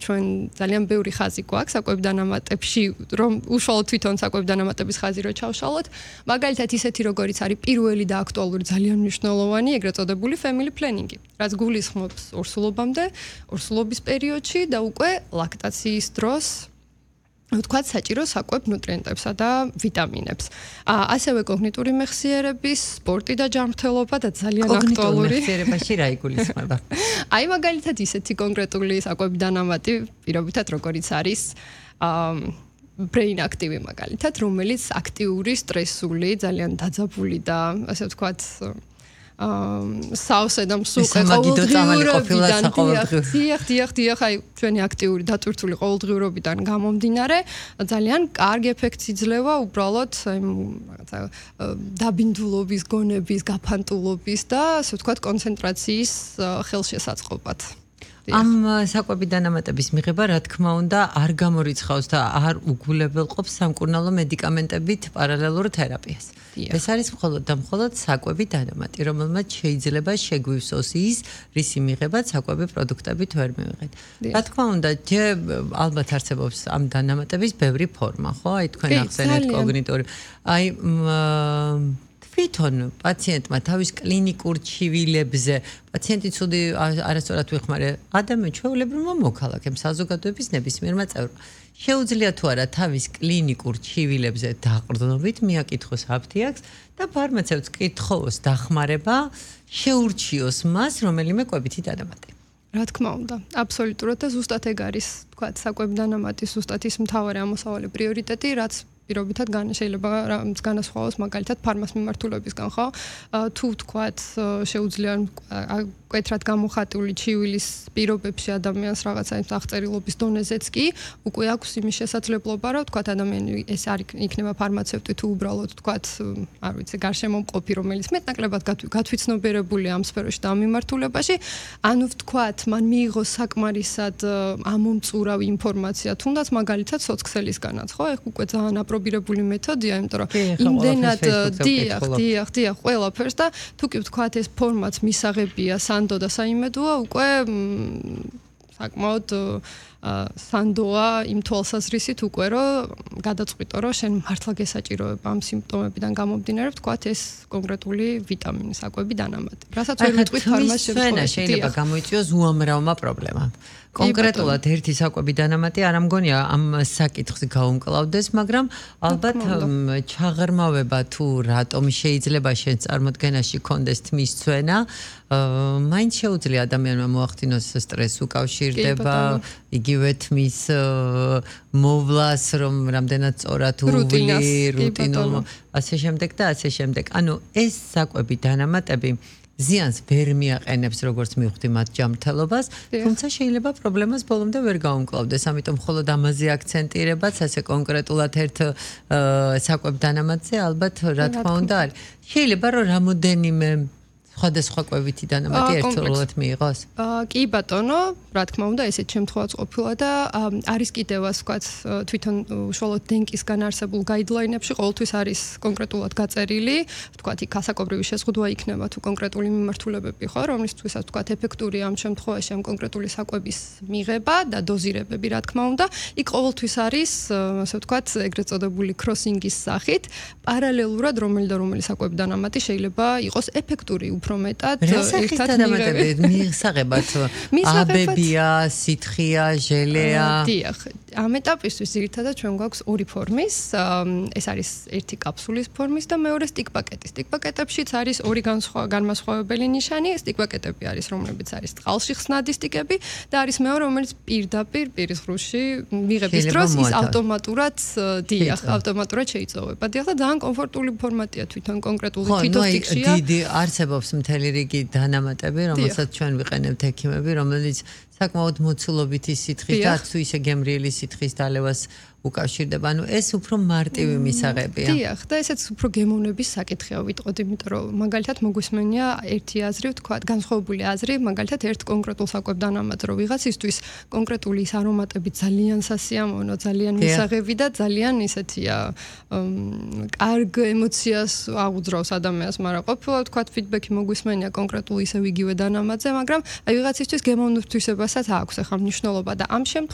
ჩვენ ძალიან ბევრი ხაზი გვაქვს საკვები დანამატებში, რომ უშუალოდ თვითონ საკვები დანამატების ხაზი რო ჩავშალოთ, მაგალითად ისეთი როგორიც არის პირველი და აქტუალური ძალიან მნიშვნელოვანი, ეგრეთ წოდებული family planning-ი, რაც გულისხმობს ორსულობამდე, ორსულობის პერიოდში და უკვე ლაქტაციის დროს ვთქვათ საჭირო საკვებ ნუტრიენტებსა და ვიტამინებს. ასევე კოგნიტური მეხსიერების, სპორტი და ჯანმრთელობა და ძალიან აქტუალური მეხსიერებაში რა იგულისხმება? აი მაგალითად ისეთი კონკრეტული საკვები დანამატი, პირობითად როგორიც არის brain active მაგალითად, რომელიც აქტიური, სტრესული, ძალიან დაძაბული და ასე ვთქვათ საოსე და მსუყე ყოველდღიურობიდან აი ჩვენი აქტიური დატვირთული ყოველდღიურობიდან გამომდინარე ძალიან კარგი ეფექტს იძლევა უბრალოდ რაღაცა დაბინდულობის, გონების, გაფანტულობის და ასე ვთქვათ კონცენტრაციის ხელშესაწყობად. ამ საკვები დანამატების მიღება, რა თქმა უნდა, არ გამორიცხავს და არ უგულებელყოფს სამკურნალო მედიკამენტებით პარალელურ თერაპიას. ეს არის მხოლოდ და მხოლოდ საკვები დანამატი, რომელმაც შეიძლება შეგვივსოს ის, რისი მიღებაც საკვები პროდუქტებით ვერ მივიღეთ. რა თქმა უნდა, ალბათ არსებობს ამ დანამატების ბევრი ფორმა, ხო? აი თქვენ ახსენეთ კოგნიტური. აი თვითონ პაციენტმა თავის კლინიკურ ჩივილებზე პაციენტი ცუდი არასწორად ვიხმარე ადამიან ჩვეულებრივმა მოქალაქემ საზოგადოების ნებისმიერმა წევრმა შეუძლია თუ არა თავის კლინიკურ ჩივილებზე დაყრდნობით მიაკითხოს აფთიაქს და ფარმაცევტს კითხოს დახმარება შეურჩიოს მას რომელიმე კვებითი დანამატი. რა თქმა უნდა, აბსოლუტურად და ზუსტად ეგ არის, თქვა, საკვები დანამატის ზუსტად ის მთავარი ამოსავალი პრიორიტეტი, რაც პირობითად შეიძლება განასხვავოს მაგალითად ფარმას მიმართულებისგან, ხო? თუ თქვათ შეუძლია მკვეთრად გამოხატული ჩივილის პირობებში ადამიანს რაღაცა აღწერილობის დონეზეც კი უკვე აქვს იმის შესაძლებლობა, რომ თქვათ ადამიანი ეს არ იქნება ფარმაცევტი თუ უბრალოდ თქვათ, არ ვიცი, გარშემომყოფი, რომელიც მეტნაკლებად გათვითცნობიერებული ამ სფეროში და ამ მიმართულებაში, ანუ ვთქვათ, მან მიიღო საკმარისად ამომწურავი ინფორმაცია, თუნდაც მაგალითად სოციქსელისგანაც, ხო? ეხ უკვე ძალიან აპრობირებული მეთოდია, იმიტომ რომ იმდენად დიახ, ყველაფერს და თუ კი ვთქვათ ეს ფორმაც მისაღებია სანდო და საიმედოა, უკვე საკმაოდ სანდოა იმ თვალსაზრისით უკვე რომ გადაწყვიტო რომ შენ მართლა გესაჭიროება ამ სიმპტომებიდან გამომდინარე ვთქვათ ეს კონკრეტული ვიტამინი საკვები დანამატი. რასაც ვერ ვიტყვით ფარმას შეიძლება გამოიწვიოს უამრავმა პრობლემამ. კონკრეტულად ერთი საკვები დანამატი არ ამგონია ამ საკითხს გაუმკლავდეს, მაგრამ ალბათ ჩაღრმავება თუ რატომ შეიძლება შენ წარმოდგენაში კონდეს თმის ცვენა, მაინც შეუძლია ადამიანმა მოახდინოს სტრესს უკავშირდება, იგივე თმის მოვლას, რომ რამდენად სწორად უვლი, რუტინულ, ასე შემდეგ და ასე შემდეგ. ანუ ეს საკვები დანამატები ზიანს ვერ მიაყენებს როგორც მივხვდი მათ ჯანმრთელობას, თუმცა შეიძლება პრობლემას ბოლომდე ვერ გაუმკლავდეს, ამიტომ მხოლოდ ამაზე აქცენტირებაც ასე კონკრეტულად ერთ საკვებ დანამატზე ალბათ რა თქმა უნდა არის. შეიძლება რომ რამოდენიმე სხვადასხვა კვებითი დანამატი ერთდროულად მიიღოს? კი ბატონო, რა თქმა უნდა, ესეც შემთხვევაც ყოფილა და არის კიდევ ასე ვთქვათ, თვითონ უშუალოდ დენკისგან არსებულ გაიდლაინებში ყოველთვის არის კონკრეტულად გაწერილი, ვთქვათ, იქ ასაკობრივი შეზღუდვა იქნება თუ კონკრეტული მიმართულებები, ხო, რომლისთვისაც ვთქვათ, ეფექტური ამ შემთხვევაში ამ კონკრეტული საკვების მიღება და დოზირებები, რა თქმა უნდა, იქ ყოველთვის არის, ასე ვთქვათ, ეგრეთ წოდებული კროსინგის სახით, პარალელურად რომელი და რომელი საკვები დანამატი შეიძლება იყოს ეფექტური უფრო მეტად ერთად მიიღებათ აბებია, სითხია, ჟელეა. დიახ, ამ ეტაპისთვის ძირითადად ჩვენ გვაქვს ორი ფორმის, ეს არის ერთი კაფსულის ფორმის და მეორე სტიკ-პაკეტის. სტიკ-პაკეტებშიც არის ორი განმასხვავებელი ნიშანი, სტიკ-პაკეტები არის, რომლებიც არის წყალში ხსნადი სტიკები და არის მეორე, რომელიც პირდაპირ პირის ღრუში მიღების დროს ის ავტომატურად ავტომატურად შეიწოვება. დიახ, და ძალიან კომფორტული ფორმატია თვითონ კონკრეტული თვითოსტიკშია. დიდი არსებობს მთელი რიგი დანამატები, რომელსაც ჩვენ ვიყენებთ ექიმები, რომელიც საკმაოდ მოცულობითი სითხის და თუ ისე გემრიელი სითხის დალევას უკავშირდება. ანუ ეს უფრო მარტივი მისაღებია. დიახ, და ესეც უფრო გემოვნების საკითხია ვიტყოდი, იმიტომ რომ მაგალითად მოგვისმენია ერთი აზრი, ვთქვათ, განსხვავებული აზრი, მაგალითად ერთ კონკრეტულ საკვებ დანამატს რო ვიღაცისთვის კონკრეტული ის არომატები ძალიან სასიამოვნო, ძალიან მისაღები და ძალიან ისეთია კარგ ემოციას აღუძრავს ადამიანს, მაგრამ ყოფილა ვთქვათ, ფიდბექი მოგვისმენია კონკრეტულ ისევ იგივე დანამატზე, მაგრამ აი ვიღაცისთვის გემოვნებისთვისაც აქვს ახლა მნიშვნელობა და ამ შემთხვევაში